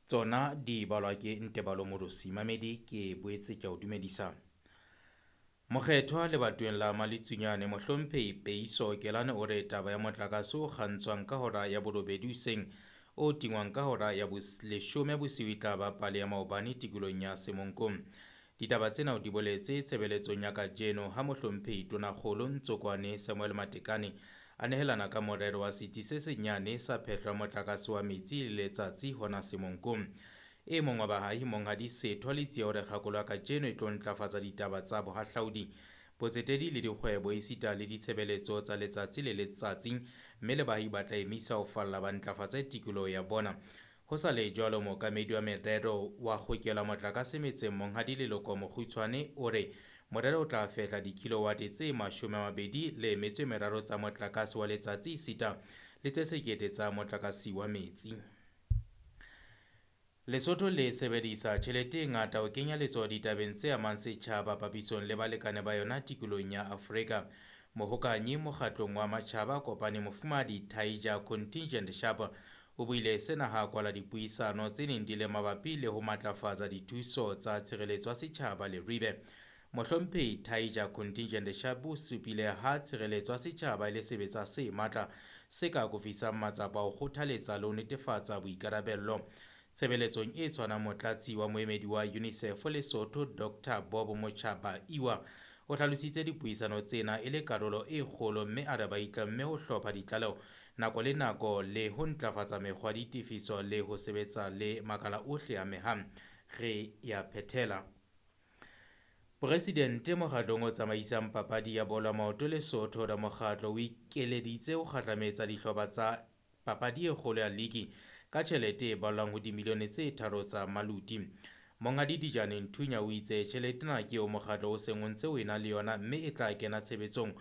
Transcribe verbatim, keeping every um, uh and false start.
Tsona di balwa ke Ntebalo Morosi. Mamedi, ke boetse ke a o dumedisa. Mokgethwa lebatoweng la Maletsunyane Mohlomphehi Peiso Kelane o re taba ya motlakase o kgantshwang ka hora ya borobedi hoseng o tingwang ka hora ya leshome bosiu e tla ba pale ya maobane tikolohong ya Semonkong. Ditaba tsena o di boletse tshebeletsong ya kajeno ha Mohlomphehi Tonakgolo Ntsokoane Samuel Matekane a nehelana ka morero wa setsi se senyane sa phehlo ya motlakase wa metsi le letsatsi hona Semonkong. E mong wa baahi Monghadi Setho Letsie o re kgakolo ya kajeno e tlo ntlafatsa ditaba tsa bohahlaudi, botsetedi le dikgwebo esita le ditshebeletso tsa letsatsi le letsatsi, mme le baahi ba tla emisa ho falla ba ntlafatse tikoloho ya bona. Ho sa le jwalo, mookamedi wa merero wa kgokelo ya motlakase metseng Monghadi Leloko Mokgutshwane o re morero o tla fehla dikilowate tse mashome a mabedi le metso e meraro tsa motlakase wa letsatsi esita le tse sekete tsa motlakase wa metsi. Lesotho le sebedisa tjhelete e ngata ho kenya letsoho ditabeng tse amang setjhaba papisong le balekane ba yona tikolohong ya Afrika. Mohokanyi mokgatlong wa matjhaba a kopaneng Mofumahadi Taija Contingent Sharp o buile sena ha a kwala dipuisano tse neng di le mabapi le ho matlafatsa dithuso tsa tshireletso ya setjhaba Leribe. Mohlomphehi Taija Contingent Sharp o supile ha tshireletso ya setjhaba e le sebetsa se matla se ka akofisang matsapa a ho kgothaletsa le ho netefatsa boikarabello. Tshebeletsong e tshwanang, motlatsi wa moemedi wa UNICEF Lesotho Doctor Bob Mochaba-Iwa o hlalositse dipuisano tsena e le karolo e kgolo mme a re ba itlamme ho hlopha ditlaleho nako le nako le ho ntlafatsa mekgwa ya ditefiso le ho sebetsa le makala ohle a amehang. Re ya phethela. Presidente mokgatlong o tsamaisang papadi ya bolo ya maoto Lesotho re mokgatlo o ikeleditse ho kgahlametsa dihlopha tsa papadi e kgolo ya ligi ka tjhelete e ballwang ho dimilione tse tharo tsa maluti. Monghadi Dijane Nthunya o itse tjhelete ena ke eo mokgatlo o seng o ntse o ena le yona mme e tla kena tshebetsong